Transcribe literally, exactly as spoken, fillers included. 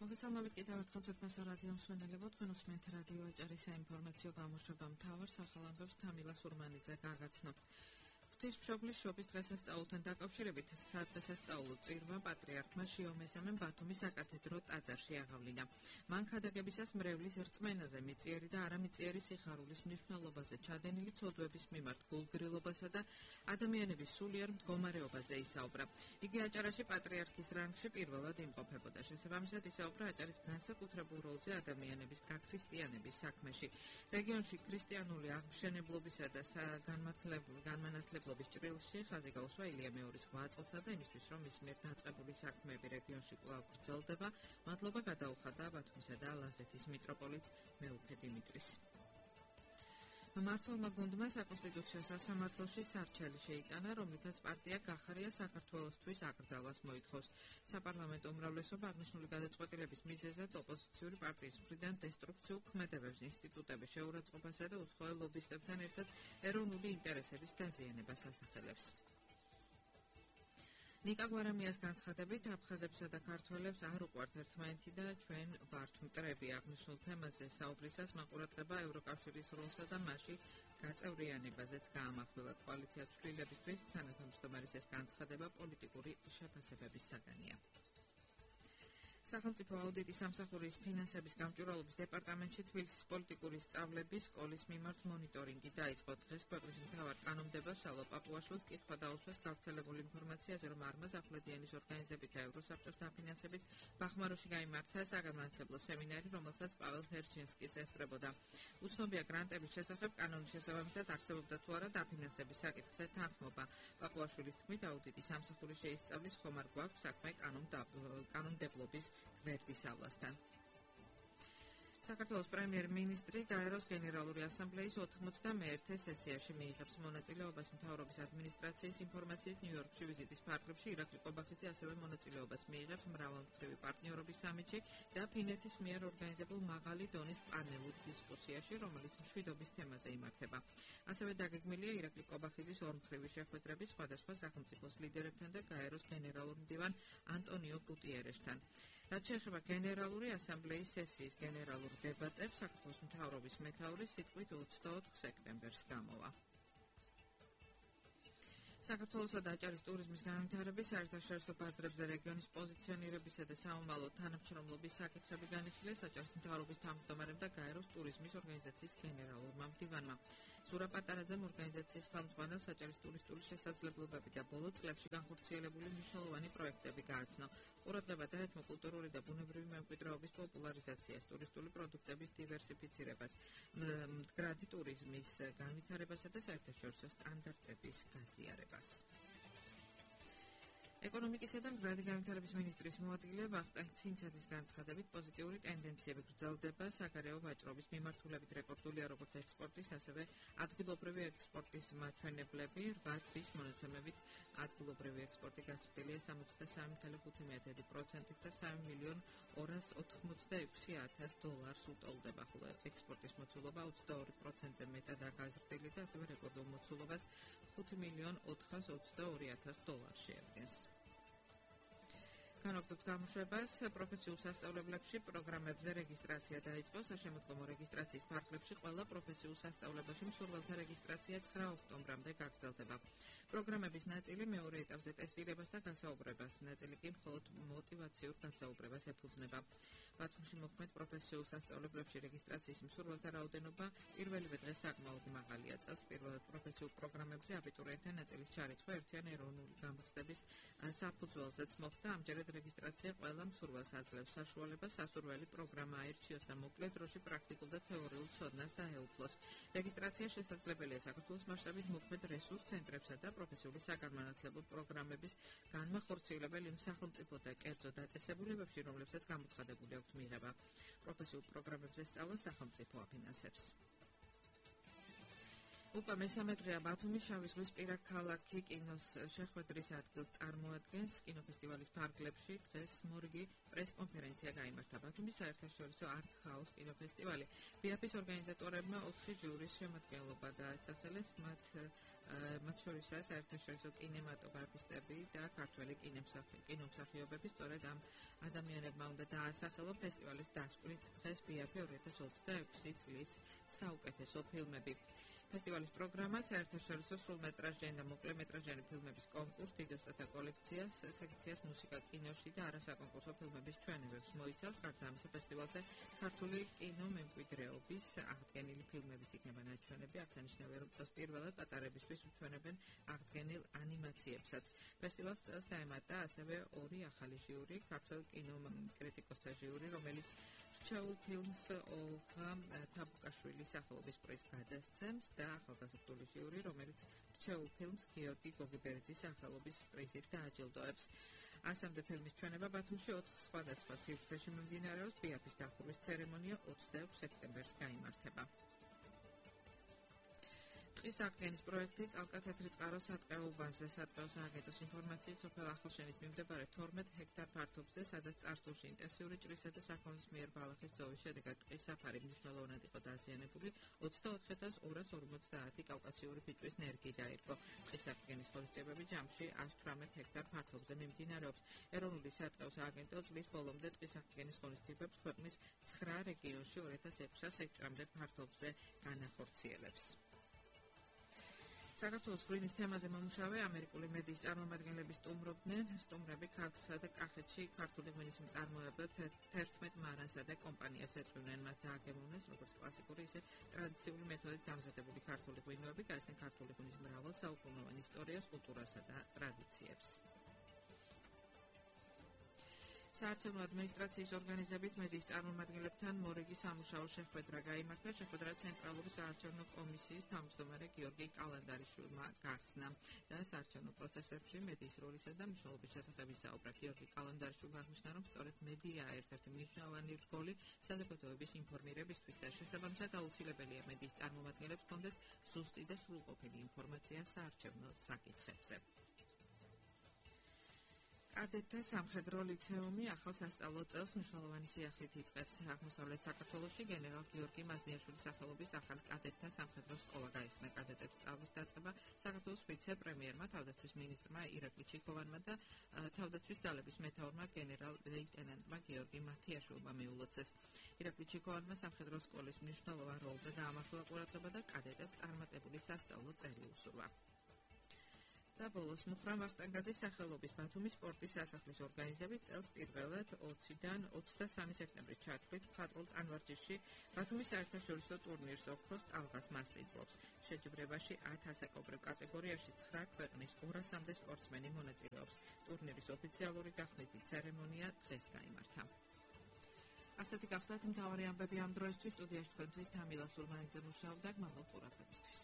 მოგესალმებით კიდევ ერთხელ თბილისის რადიო მსმენელებო, თქვენ უსმენთ რადიო აჭარის საინფორმაციო გამოშვება მთავარ სახალ ამბებს თამილა სურმანიძე გარგაცნობ. ღვთისმშობლის შობის დღესასწაულთან დაკავშირებით სადღესასწაულო წირვა პატრიარქმა შიო მესამემ ბათუმის საკათედრო ტაძარში აღავლინა. მან ქადაგებისას მრევლის რწმენაზე, მიწიერი და არამიწიერი სიხარულის მნიშვნელობაზე, ჩადენილი ცოდვების მიმართ გულგრილობასა და ადამიანების სულიერ მდგომარეობაზე ისაუბრა. იგი აჭარაში პატრიარქის რანგში პირველად იმყოფებოდა. შესაბამისად ისაუბრა აჭარის განსაკუთრებულ როლზე ადამიანების გაქრისტიანების საქმეში. რეგიონში ქრისტიანული აღმშენებლობისა და განმანათლებლობის ჭრილში ხაზი გაუსვა ილია მეორის რვა წელსა და იმისთვის, რომ მის მიერ დაწყებული საქმეები რეგიონში კვლავ გრძელდება, მადლობა გადაუხადა ბათუმისა და ლაზეთის მიტროპოლიტს მეუფე დიმიტრის. მმართველმა გუნდმა საკონსტიტუციო სასამართლოში სარჩელი შეიტანა, რომლითაც პარტია გახარია საქართველოსთვის აკრძალვას მოითხოვს. საპარლამენტო უმრავლესობა აღნიშნული გადაწყვეტილების მიზეზად ოპოზიციური პარტიის მხრიდან დესტრუქციულ ქმედებებს, ინსტიტუტების შეურაცხყოფასა და უცხოელ ლობისტებთან ერთად ეროვნული ინტერესების დაზიანებას ასახელებს. ნიკა გვარამიას განცხადებით, აფხაზებსა და ქართველებს არ უყვართ ერთმანეთი და ჩვენ ვართ მტრები. აღნიშნულ თემაზე საუბრისას მან ყურადღება ევროკავშირის როლსა და მასში გაწევრიანებაზეც გაამახვილა. კოალიცია ცვლილებისთვის თანათავმჯდომარის ეს განცხადება პოლიტიკური შეფასებების საგანია. სახელმწიფო აუდიტის სამსახურის ფინანსების გამჭვირვალობის დეპარტამენტში თბილისის პოლიტიკური სწავლების სკოლის მიმართ მონიტორინგი დაიწყო. დღეს ქვეყნის მთავარ კანონმდებლს შალვა პაპუაშვილს კითხვა დაუსვეს გავრცელებული ინფორმაციაზე, რომ არმაზ ახვლედიანის ორგანიზებით და ევროსაბჭოს დაფინანსებით ბახმაროში გაიმართა საგანმანათლებლო სემინარი, რომელსაც პაվել ჰერჩინსკიც ესწრებოდა. უცნობია გრანტების შესახებ კანონის შესაბამისად არსებობდა თუ არა დაფინანსების საკითხზე თანხმობა. პაპუაშვილის თქმით, აუდიტის სამსახური შეისწავლის ხომ არ გვაქვს საქმე კანონმდებლობის გვერდისავლასთან. საქართველოს პრემიერ-მინისტრი გაეროს გენერალური ასამბლეის ოთხმოცდამეერთე სესიაში მიიღებს მონაწილეობას. მთავრობის ადმინისტრაციის ინფორმაციით, ნიუ-იორკში ვიზიტის ფარგლებში ირაკლი ყობახიძე ასევე მონაწილეობას მიიღებს მრავალმხრივი პარტნიორობის სამიტში და ფინეთის მიერ ორგანიზებულ მაღალი დონის პანელურ დისკუსიაში, რომელიც მშვიდობის თემაზე იმართება. ასევე დაგეგმილია ირაკლი ყობახიძის ორმხრივი შეხვედრები სხვადასხვა სახელმწიფოს ლიდერებთან და გაეროს გენერალურ მდივან ანტონიო გუტიერეშთან. რაც შეეხება გენერალური ასამბლეის სესიის გენერალურ დებატებს, საქართველოს მთავრობის მეთაური სიტყვით ოცდაოთხ სექტემბერს გამოვა. საქართველოსა და აჭარის ტურიზმის განვითარების საერთაშორისო ბაზრებზე რეგიონის პოზიციონირებისა და სამომავლო თანამშრომლობის საკითხები განიხილეს აჭარის მთავრობის თავმჯდომარემ და გაეროს ტურიზმის ორგანიზაციის გენერალურმა მდივანმა. ზურაბ პატარაძემ ორგანიზაციის ხელმძღვანელს აჭარის ტურისტული შესაძლებლობები და ბოლო წლებში განხორციელებული მნიშვნელოვანი პროექტები გააცნო. ყურადღება დაეთმო კულტურული და ბუნებრივი მემკვიდრეობის პოპულარიზაციას, ტურისტული პროდუქტების დივერსიფიცირებას, მდგრადი ტურიზმის განვითარებასა და საერთაშორისო სტანდარტების გაზიარებას. ეკონომიკისა და მდგრადი განვითარების მინისტრის მოადგილე ვახტანგ ცინცაძის განცხადებით, პოზიტიური ტენდენციები გრძელდება საგარეო ვაჭრობის მიმართულებით. რეკორდულია როგორც ექსპორტის, ასევე ადგილობრივი ექსპორტის მაჩვენებლები. რვა თვის მონაცემებით ადგილობრივი ექსპორტი გაზრდილია სამოცდასამი целых ხუთი პროცენტით და სამი მილიონ ორას ოთხმოცდაექვსი ათას დოლარს უტოლდება, ხოლო ექსპორტის მოცულობა ოცდაორი პროცენტზე მეტადაა გაზრდილი და ასევე რეკორდულ მოცულობას ხუთი მილიონ ოთხას ოცდაორი ათას დოლარს შეადგენს. განაგრძობთ გამოშვებას. პროფესიულ სასწავლებლებში პროგრამებზე რეგისტრაცია დაიწყო. საშემოდგომო რეგისტრაციის ფარგლებში ყველა პროფესიულ სასწავლებელში მსურველთა რეგისტრაცია ცხრა ოქტომბრამდე გაგრძელდება. პროგრამების ნაწილი მეორე ეტაპზე ტესტირებას და გასაუბრებას, ნაწილი კი მხოლოდ მოტივაციურ გასაუბრებას ეფუძნება. ბათუმში მოქმედ პროფესიულ სასწავლებლებში რეგისტრაციის მსურველთა რაოდენობა პირველივე დღეს საკმაოდ მაღალია. წელს პირველად პროფესიულ პროგრამებზე აბიტურიენტთა ნაწილის ჩარიცხვა ერთიანი ეროვნული გამოცდების საფუძველზეც მოხდა. ამჯერად რეგისტრაცია ყველა მსურველს აძლევს საშუალებას სასურველი პროგრამა აირჩიოს და მოკლე დროში პრაქტიკულ და თეორიულ ცოდნას დაეუფლოს. რეგისტრაცია შესაძლებელია საქართველოს მასშტაბით მოქმედ რესურს ცენტრებსა და პროფესიული საგანმანათლებლო პროგრამების განმახორციელებელ იმ სახელმწიფო და კერძო დაწესებულებებში, რომლებსაც გამოცხადებული აქვთ მიღება. პროფესიულ პროგრამებზე სწავლა სახელმწიფო აფინანსებს. უკვე მესამე დღეა ბათუმის შავი ზღვის პირა ქალაქი კინოს შეხვედრის ადგილს წარმოადგენს. კინოფესტივალის ფარგლებში დღეს მორიგი პრესკონფერენცია გაიმართა. ბათუმის საერთაშორისო art house კინოფესტივალი ბიაფის ორგანიზატორებმა ოთხი ჟიურის შემადგენლობა დაასახელეს. მათ მათ შორისაა საერთაშორისო კინემატოგრაფისტები და ქართველი კინომსახიობები. სწორედ ამ ადამიანებმა უნდა დაასახელონ ფესტივალის დასკვნით დღეს ბიაფი ორი ათას ოცდაექვსი წლის საუკეთესო ფილმები. ფესტივალის პროგრამა საერთაშორისო სრულმეტრაჟიანი და მოკლემეტრაჟიანი ფილმების კონკურს, დიდოსტათა კოლექციას, სექციას მუსიკა კინოში და არასაკონკურსო ფილმების ჩვენებებს მოიცავს. გარდა ამისა, ფესტივალზე ქართული კინო მემკვიდრეობის აღდგენილი ფილმებიც იქნება ნაჩვენები. აღსანიშნავია, რომ წელს პირველად პატარებისთვის უჩვენებენ აღდგენილ ანიმაციებსაც. ფესტივალს წელს დაემატა ასევე ორი ახალი ჟიური, ქართულ კინოკრიტიკოსთა ჟიური, რომელიც რჩეულ ფილმს ოლღა თაბუკაშვილის სახელობის პრიზს გადასცემს და ახალგაზრდული ჟიური, რომელიც რჩეულ ფილმს გიორგი გოგიბერიძის სახელობის პრიზით დააჯილდოებს. ასამდე ფილმის ჩვენება ბათუმში ოთხ სხვადასხვა სივრცეში მიმდინარეობს. ბიაფის დახურვის ცერემონია ოცდაექვს სექტემბერს გაიმართება. ტყის აღდგენის პროექტი წალკათეთრი წყარო სატყეო უბანზე სატყეო სააგენტოს ინფორმაციით სოფელ ახალშენის მიმდებარე თორმეტ ჰექტარ ფართობზე, სადაც წარსულში ინტენსიური ჭრისა და საქონლის მიერ ბალახის ძოვის შედეგად ტყის საფარი მნიშვნელოვნად იყო დაზიანებული, ოცდაოთხ ათას ორას ორმოცდაათი კავკასიური ფიჭვის ნერგი დაირგო. ტყის აღდგენის ღონისძიებები ჯამში ას თვრამეტ ჰექტარ ფართობზე მიმდინარეობს. ეროვნული სატყეო სააგენტო წლის ბოლომდე ტყის აღდგენის ღონისძიებებს ქვეყნის ცხრა რეგიონში ორი ათას ექვსას ჰექტრამდე ფართობზე განახორციელებს. საქართველოს ღვინის თემაზე მომუშავე ამერიკული მედიის წარმომადგენლები სტუმრობდნენ. სტუმრები ქართლსა და კახეთში ქართული ღვინის მწარმოებელ თერთმეტ მარანსა და კომპანიას ეწვივნენ. მათ დააგემოვნეს როგორც კლასიკური, ისე ტრადიციული მეთოდით დამზადებული ქართული ღვინოები, გაეცნენ ქართული ღვინის მრავალ საუკუნოვან ისტორიას, კულტურასა და ტრადიციებს. საარჩევნო ადმინისტრაციის ორგანიზებით მედიის წარმომადგენლებთან მორიგი სამუშაო შეხვედრა გაიმართა. შეხვედრა ცენტრალური საარჩევნო კომისიის თავმჯდომარე გიორგი კალანდარიშვილმა გახსნა და საარჩევნო პროცესებში მედიის როლისა და მნიშვნელობის შესახებ ისაუბრა. გიორგი კალანდარიშვილმა აღნიშნა, რომ სწორედ მედიაა ერთ-ერთი მნიშვნელოვანი რგოლი საზოგადოების ინფორმირებისთვის და შესაბამისად აუცილებელია მედიის წარმომადგენლებს ჰქონდეთ ზუსტი და სრულყოფილი ინფორმაცია საარჩევნო საკითხებზე. კადეტთა სამხედრო ლიცეუმი ახალ სასწავლო წელს მნიშვნელოვანი სიახლით იწყებს. აღმოსავლეთ საქართველოში გენერალ გიორგი მაზნიაშვილის სახელობის ახალი კადეტთა სამხედრო სკოლა გაიხსნა. კადეტებს სწავლის დაწყება საქართველოს ვიცე-პრემიერმა, თავდაცვის მინისტრმა ირაკლი ჩიქოვანმა და თავდაცვის ძალების მეთაურმა გენერალ ლეიტენანტმა გიორგი მათიაშვილმა მიულოცეს. ირაკლი ჩიქოვანმა სამხედრო სკოლის მნიშვნელოვან როლზე დაამახვილა ყურადღება და კადეტებს წარმატებული სასწავლო წელი უსურვა. და ბოლოს მუხრან ვახტანგაძის სახელობის ბათუმის სპორტის სასახლის ორგანიზებით წელს პირველად ოციდან ოცდასამი სექტემბრის ჩათვლით მხატვრულ ტანვარჯიშში ბათუმის საერთაშორისო ტურნირს ოქროს ტალღას მასპინძლობს. შეჯიბრებაში ათ ასაკობრივ კატეგორიაში ცხრა ქვეყნის ორასამდე სპორტსმენი მონაწილეობს. ტურნირის ოფიციალური გახსნითი ცერემონია დღეს გაიმართა. ასეთი გახდათ მთავარი ამბები ამ დროისთვის. სტუდიაში თქვენთვის თამილა სურმანიძე მუშაობდა. გმადლობთ ყურადღებისთვის.